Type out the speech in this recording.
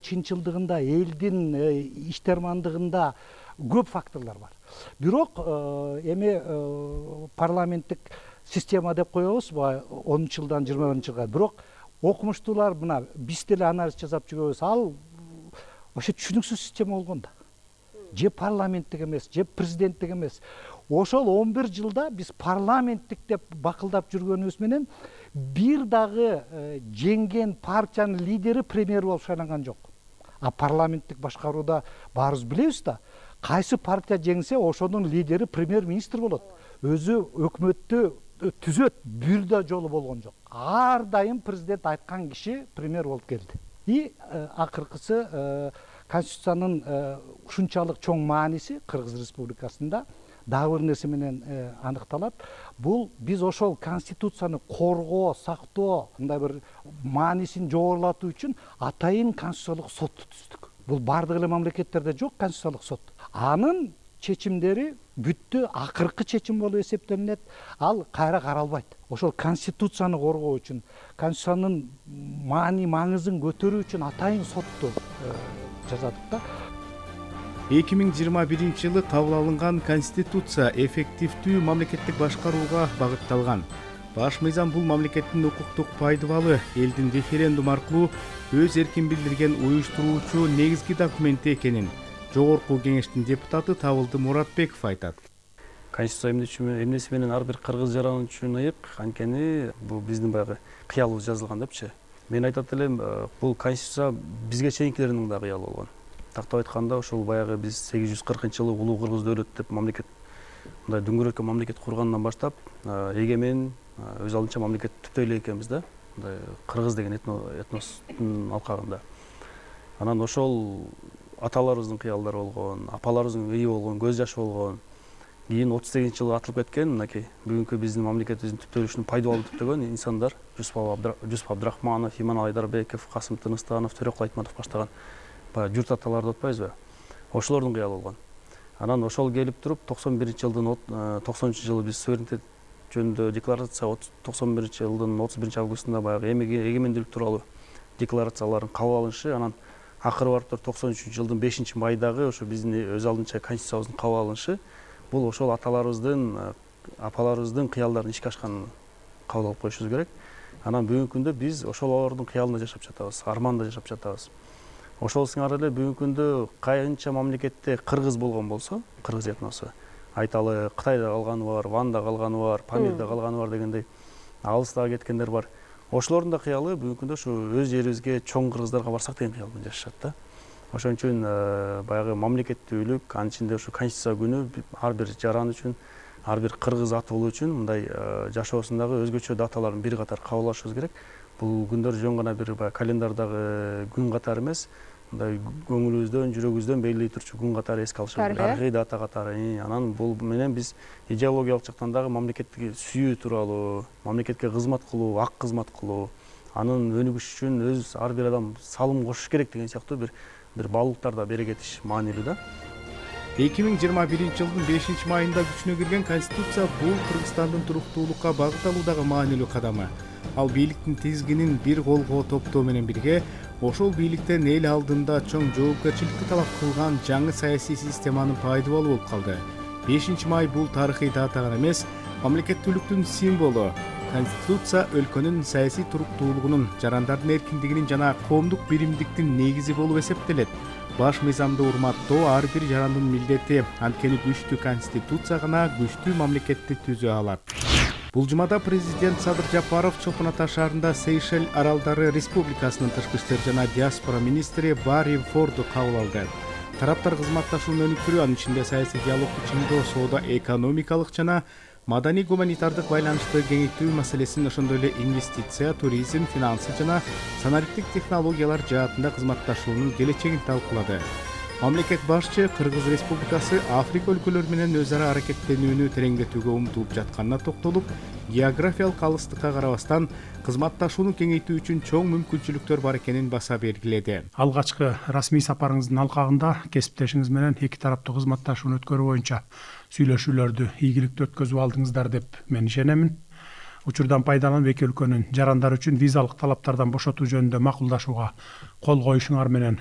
чынчылдыгында, элдин иштермандыгында көп факторлор бар. Бирок эми парламенттик система деп коебузбу 10 жылдан 21 жылга. Бирок окумуштуулар мына биз деле анализ жасап жүрөбүз. Ал ошо түшүнүксүз система болгон да. Же парламенттик эмес, же президенттик эмес. Ошол 11 жылда биз парламенттик деп бакылдап жүргөнүбүз менен бир дагы жеңген партиянын лидери премьер болуп шайланган жок. А парламенттик башкарууда баарыбыз билебиз да, кайсы партия жеңсе ошонун лидери премьер-министр болот. Өзү өкмөттү түзөт, бир да жолу болгон жок. Ар дайым президент айткан киши премьер болуп келди. И акыркысы Конституциянын ушунчалык чоң мааниси Кыргыз Республикасында дагы бир нерсе менен аныкталат. Бул биз ошол Конституцияны коргоо, сактоо, мындай бир маанисин жогорулатуу үчүн атайын конституциялык сотту түздүк. Бул бардык эле мамлекеттерде жок конституциялык сот. Анын чечимдери бүттү акыркы чечим болуп эсептелинет. Ал кайра каралбайт. Ошол Конституцияны коргоо үчүн, Конституциянын маңызын көтөрүү үчүн атайын сотту жасадык да. 2021 жылы кабыл алынган Конституция эффективдүү мамлекеттик башкарууга багытталган. Баш мыйзам бул мамлекеттин укуктук пайдыбалы элдин референдум аркылуу өз эркин билдирген уюштуруучу негизги документи экенин Жогорку Кеңештин депутаты Табылды Муратбеков айтат. Конституция эмнеси менен ар бир кыргыз жарануучун ыйык, анткени бул биздин баягы кыялыбыз жазылган депчи. Мен айтат элем, бул Конституция бизге чейинкилердин да кыялы болгон. Тактап айтканда, ошол баягы биз 840-жылы улуу кыргыз дөөлөт деп мамлекет, мындай дөңгөрөккө мамлекет кургандан баштап, эгемен, өз алдынча мамлекет түптөй эле экенбиз да. Мындай кыргыз деген этностун алкагында. Анан ошол аталарыбыздын кыялдары болгон, апаларыбыздын ыйы болгон, көз жашы болгон. Кийин 38-жылы атылып кеткен, мынакей бүгүнкү биздин мамлекетибиздин түптөлүшүн пайдалуу түптөгөн инсандар, Жусуп Абдрахманов, Иман Айдарбеков, Касым Тыныстанов, Төрөкул Айтматов баштаган журт аталарды атпайбызбы? Ошолордун кыялы болгон. Анан ошол келип туруп 91-жылдын 90-жылы биз суверенитет жөнүндө декларация, 91-жылдын 31-августунда баягы эгемендүүлүк тууралуу декларациялардын кабыл алынышы, анан акыры барып 93-жылдын 5-майдагы ошо биздин өз алдынча конституциябыздын кабыл алынышы бул ошол аталарыбыздын, апаларыбыздын кыялдарын ишке ашканын кабыл алып коюшубуз керек. Анан бүгүнкү күндө биз ошолордун кыялында жашап жатабыз, арманда жашап жатабыз. Ошол сыңары эле бүгүнкү күндө кайынча мамлекетте кыргыз болгон болсо, кыргыз этносу, айталы Кытайда калганы бар, Ванда калганы бар, Памирде калганы бар дегендей алыстагы кеткендер бар. Ошолордун да кыялы бүгүнкү күндө ушу өз жерибизге чоң кыргыздарга барсак деген кыял менен жашашат да. Ошон үчүн баягы мамлекеттүүлүк, анын ичинде ушу Конституция күнү ар бир жаран үчүн, ар бир кыргыз атуулу үчүн мындай жашоосундагы өзгөчө даталарын бир катар кабыл алышыбыз керек. Бул күндөр жөн гана бир календардагы күн катары эмес, мындай көңүлүбүздөн, жүрөгүбүздөн белгилей турчу күн катары эске алышыбыз керек. Тарыхый дата катары. Анан бул менен биз идеологиялык жактан дагы мамлекетти сүйүү тууралуу, мамлекетке кызмат кылуу, ак кызмат кылуу, анын өнүгүшү үчүн өз ар бир адам салым кошуш керек деген сыяктуу бир баалуулуктар да бере кетиш маанилүү да. 2021 жылдын 5-майында күчүнө кирген Конституция бул Кыргызстандын туруктуулукка багыт алуудагы маанилүү кадамы. Ал бийликтин тизгинин бир колго топтоо менен бирге ошол бийликтен эл алдында чоң жоопкерчиликти талап кылган жаңы саясий системанын пайдыбалы болуп калды. 5-май бул тарыхый дата гана эмес, мамлекеттүүлүктүн символу. Конституция өлкөнүн саясий туруктуулугунун, жарандардын эркиндигинин жана коомдук биримдиктин негизи болуп эсептелет. Баш мыйзамды урматтоо ар бир жарандын милдети, анткени күчтүү Конституция гана күчтүү мамлекетти түзө алат. Бул жумада президент Садыр Жапаров Чолпон Ата шаарында Сейшел Аралдары Республикасынын тышкы иштер жана диаспора министри Барри Форду кабыл алды. Тараптар кызматташууну өнүктүрүү, анын ичинде саясий диалогду чыңдоо, соода, экономикалык жана маданий гуманитардык байланышты кеңейтүү маселесин, ошондой эле инвестиция, туризм, финансы жана санариптик технологиялар жаатында кызматташуунун келечегин талкуулады. Мамлекет башчы Кыргыз Республикасы Африка өлкөлөрү менен өз ара аракеттенүүнү тереңдетүүгө умтулуп жатканына токтолуп, географиялык алыстыкка карабастан кызматташууну кеңейтүү үчүн чоң мүмкүнчүлүктөр бар экенин баса белгиледи. Алгачкы расмий сапарыңыздын алкагында кесиптешиңиз менен эки тараптуу кызматташууну өткөрүү боюнча сүйлөшүүлөрдү ийгиликтүү өткөзүп алдыңыздар деп мен ишенемин. Учурдан пайдаланып эки өлкөнүн жарандары үчүн визалык талаптардан бошотуу жөнүндө макулдашууга кол коюшуңар менен